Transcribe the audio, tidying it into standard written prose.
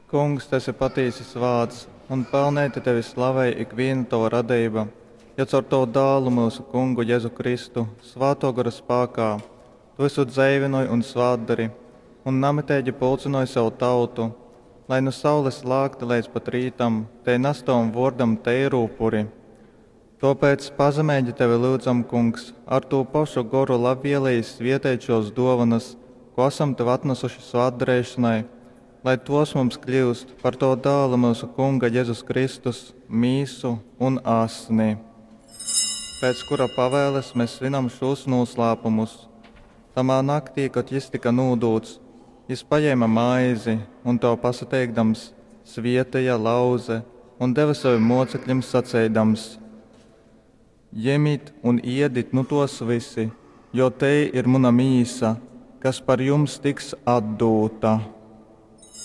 Kungs, tu esi patīsi svāts, un pelneiti tevi slavej ikvīna tova radeiba, jo caur tovu Dālu, myusu Kungu Jezu Kristu, Svātō Gora spākā tu vysu dzeivynoj un svātdori un namiteigi pulcynoj sev tautu, lai nu saules lākta leidz pat rītam tei nas tovam vōrdam teiru upuri. Tōpēc pazemeigi tevi lyudzam, Kungs, ar tū pošu Goru labvieleīs svieteit šōs dōvonas, kū asam tev atnasuši svātdareišonai, lai tōs mums kļyust par tova Dāla, myusu Kunga Jezus Kristus, mīsu un asni. Pēc kura pavēles mes svinam šūs nūslāpumus. Tamā naktī, kod jys tyka nūdūts, jys pajēme maizi un, tev pasateikdams, svēteja, lauze un deve sovim mōceklim saceidams, Jemit un iedit nu tōs vysi, jo tei ir muna mīsa, kas par jums tiks atdūta.